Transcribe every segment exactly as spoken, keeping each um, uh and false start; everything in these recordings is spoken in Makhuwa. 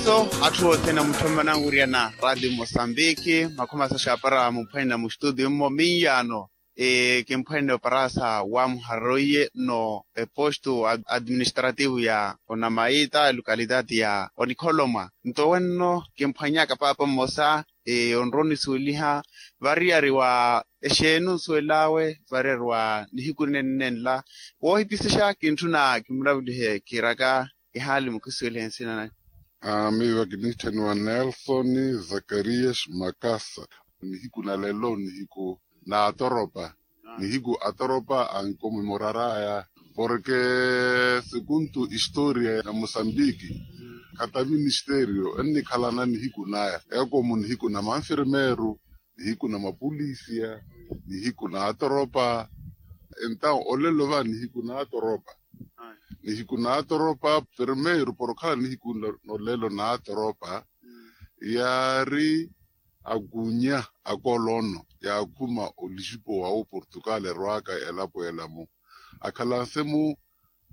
Atthu othene amutthommana anwiriyana radio mosambiki makhumi asaxapara mumphwanina mustudio mmo minyaano. Kimphwanina oparasa wamuharoiye no eposto administrativo ya onamaita localidade ya onikholomwa. Nto wenno kimphwanyaka paapa mmosa onrowa onisuweliha variyari wa exeeni onsuwel'awe variyari wa nihiku ninenla. Woohipisexa kintthuna kimuravulihe kiiraka ihaali mukisuwelihe nsina nanyu. Miiva kiniitthaniwa nelson zakarias makasa. Nihiku na lelo nihiku na atoropa nihiku atoropa ankomemoraraya. Porke sekuntu historia ya mosambiki khata ministerio ennikhalana nihiku naya ekomu nihiku na manfirmeru nihiku na mapulisia nihiku na atoropa. Entaw olelo va nihiku na atoropa nihiku na atoropa. Primeiru porokhala nihiku nolelo na atoropa yaari akunya akolono yaakhuma olisipo wawo portugal erwaka elapo elamu akhalanse mu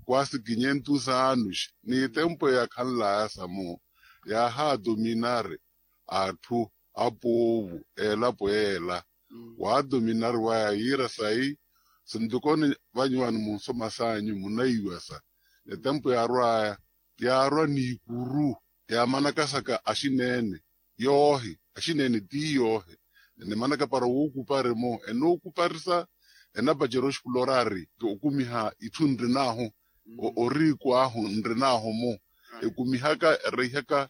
kwasi kinyentu saanus ni tempo eyakhanlaya samu yaahaadominari atthu apoovu elapo eela. Waadominari waya yiira sayi sintokoni vanyuwani munsoma sanyu munaiwasa etempo yaarwaya yaarwa niikuru yaamanakasaka axineene yoohi axineene ti yoohi enimanaka para wookupari-mo enookuparisa enapacera oxipulorari okumiha itthu nrinahu oriiku ahu nrinahu-mo ekumihaka ereihaka